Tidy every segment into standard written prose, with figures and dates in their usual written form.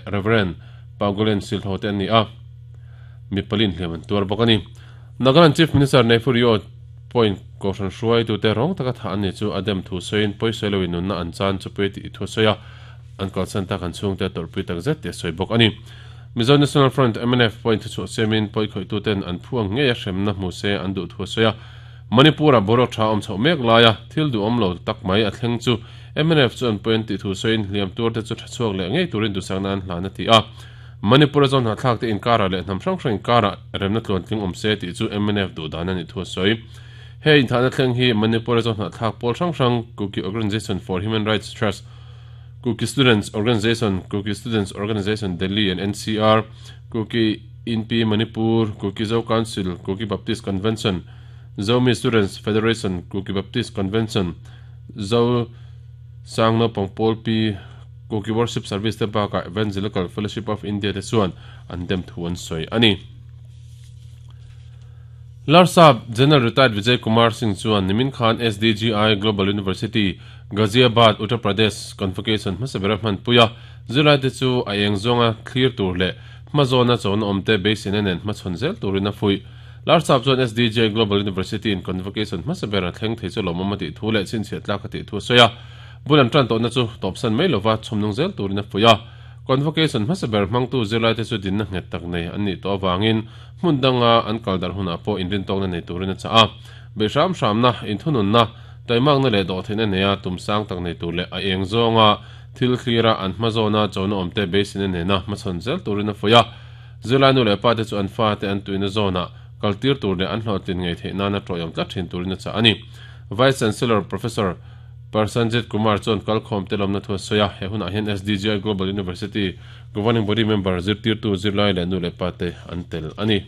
Rev. Paugulen Silho te an ni a, mi palin hliam an tuar bawk a ni. Nagaland Chief Minister Neiphu Rio pawhin Kohhran hruaitute rawng taka thah an ni chu a dem thu sawiin pawisawi loin nunna an chan chu pui tih thu a sawi a, an kalsan tak an chhungte a tawrhpui tak zet tih a sawi bawk a ni. Mizo National Front, mnf, pawhin thuchhuah siamin pawikhawihtute'n an phu ang ngeia hremna hmu se an duh thu a sawi a, Manipur-ah boruak tha awm chhoh mek laia thil duhawm lo tak mai a thleng chu mnf chuan pawi an tih thu sawiin hliam tuarte chu tha chhuak leh ngei turin duhsakna an hlan a ti a. Manipur-a zawhnahthlakte inkarah leh hnam hrang hrang inkarah remna tluantling awm se tih chu mnf duhdan a nih thu a sawi. He inthahna thleng hi Manipur-a zawhnahthlak pawl hrang hrang Kuki Organisation for Human Rights Trust, Kuki Students Organisation, Kuki Students Organisation Delhi and NCR, Kuki Inpi Manipur, Kuki Zo Council, Kuki Baptist Convention, Zomi Students Federation, Kuki Baptist Convention, Zo Sang Naupang Pawl Pi, Kuki Worship Service te bakah Evangelical Fellowship of India te chuan an dem thu an sawi a ni. Larsap General Retired Vijay Kumar Singh chuan nimin khan SDGI Global University, Ghaziabad, Uttar Pradesh Convocation hmasa bera hmanpui a, zirlaite chu a eng zawnga thlir tur leh hmazawna chona awmte beiseina nen hmachhawn zel turin a fuih. Larsap chuan SDGI Global University in Convocation hmasa bera thleng thei chu lawmawm a tih thu leh chhinchhiah tlak a tih thu a sawi a, bul an tan tawhna chu tawpsan mai lova chhawmnung zel turin a fuih a. Convocation hmasa ber hmangtu zirlaite chu dinna nghet tak nei an nih tawh avangin hmun danga an kal darh hunah pawh inrintawkna nei turin a chah a. Beih hram hramna, inthununna, taimakna leh dawhtheihna neia tum sang tak nei tur leh a eng zawnga thil thlira an hma zawna chona awmte beiseina nena hmachhawn zel turin a fuih a. Zirlai nu leh pate chu an fate an tuina zawnah kaltir tur leh an hlawhtlin ngei theih nana tawihawm tlat thin turin a chah a ni. Vice Chancellor Professor Parsanjit Kumar chuan kalkhawm te lawmna thu a sawi a, he hunah hian SDGI Global University Governing Body member zirtirtu zirlai leh nu leh pa te an tel a ni.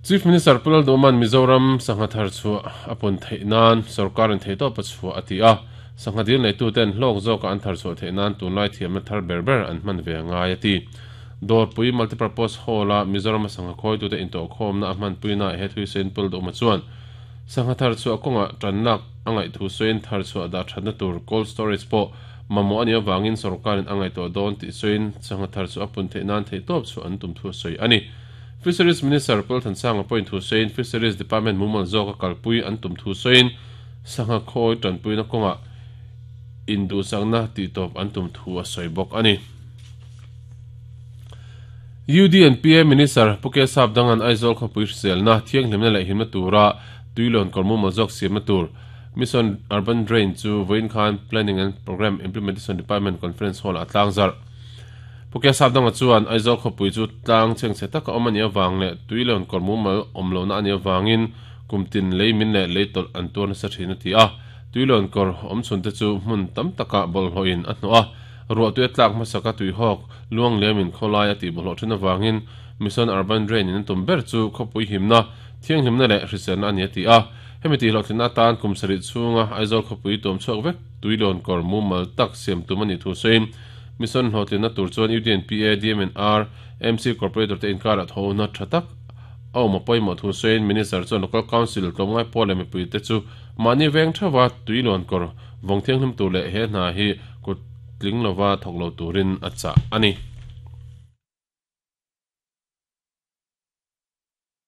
Chief Minister Pu Lalduhman Mizoram sangha thar chhuah a pun theih nan sorkarin theihtawp a chhuah a ti a, sangha dil neituten hlawk zawka an thar chhuah theih nan tunlai thiamna thar ber ber an hman ve a ngai a ti. Dawrpui Multipurpose Hall-a Mizorama sangha khawitute intawhkhawmna a hmanpuinaah he thuisain Pu Lalduhma chuan Sangha thar chhuah kawngah tanlak a ngaih thu sawiin thar chhuah dah thatna tur cold storage pawh mamawh a nih avangin sorkarin a ngaihtuah dawn tih sawiin sangha thar chu a pun theih nan theihtawp chhuah an tum thu a sawi a ni. Fisheries Minister Paul Thansanga pawhin thu sawiin Fisheries Department mumal zawka kalpui an tum thu sawiin sangha khawi tanpuina kawngah induhsakna tihtawp an tum thu a sawi bawk a ni. UDNPA Minister Pu K Sapdanga'n Aizawl khawpui hriselna, thianghlimna leh himna tura tuilawn kawr mumal zawk siamna tur Mission Urban Drain chu vawiin khan Planning and Programme Implementation Department Conference Hall-ah a tlang zarh. Pu K Sapdanga chuan Aizawl khawpui chu tlang chhengchhe taka awm a nih avang leh tuilawn kawr mumal awm lohna a nih avangin kum tin lei min leh lei tawlh an tuar nasa thin a ti a. Tuilawn kawr awmchhunte chu hmun tam takah bawlhhlawhin a hnawh a. Ruahtui a tlak hmasaka tuihawk luang liamin khawlai a tihbawlhhlawh thin avangin Mission Urban Drain in an tum ber chu khawpui himna, thianghlimna leh hriselna a ni a ti a. Hemi tihhlawhtlinna atan kum sarih chhunga Aizawl khawpui tuam chhuak vek tuilawn kawr mumal tak siam tum a nih thu sawiin Mission hlawhtlinna tur chuan UDNPA, DMNR, MC Corporator te inkarah thawhna tha tak a awm a pawimawh thu sawiin Minister chuan Local Council tlawmngai pawl leh mipuite chu mahni veng theuha tuilawn kawr vawng thianghlim tur leh he hna hi kut tling lova thawk lo turin a chah a ni.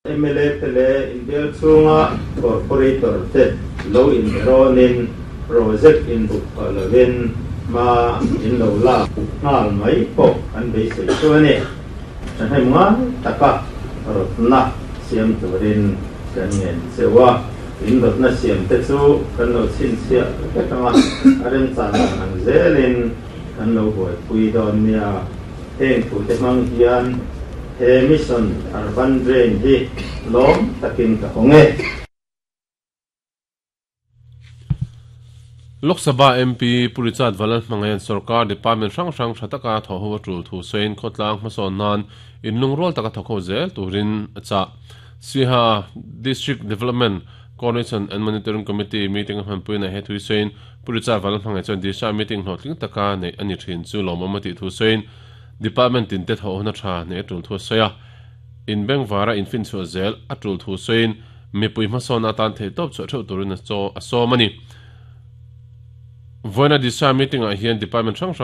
Mla te leh inbial chhunga corporator te lo inberawnin project inbuk tawh lovin hma in lo lak nghal mai pawh kan beisei chu a ni. Thahnem ngai taka rawtna siam turin kan ngen cheu a. In rawtna siam te chu kan lo chhinchhiah vek ang a, a remchan dan ang zelin kan lo buaipui dawn nia. Heng thute hmang hian he Mission Urban Drain hi lawm takin ka hawng e. Lok Sabha MP Pu Richard Valalhmangaian sorkar department hrang hrang tha taka thawh ho a tul thu sawiin khawtlang hmasawn nan inlungrual taka thawk ho zel turin a chah. Siha District Development Coordination and Monitoring Committee meeting a hmanpuina he thui sawiin Pu Richard Vanlalhmangaih chuan Disha meeting hlawhtling taka neih a ni thin chu lawmawm a tih thu sawiin Department tinte thawh huna tha neih a tul thu a sawi a, in bengvara infinchhuah zel a tul thu sawiin mipui hmasawnna atan theihtawp chhuah theuh turin a sawm a ni. Vawiina Disha meeting ah hian department hrang hrang.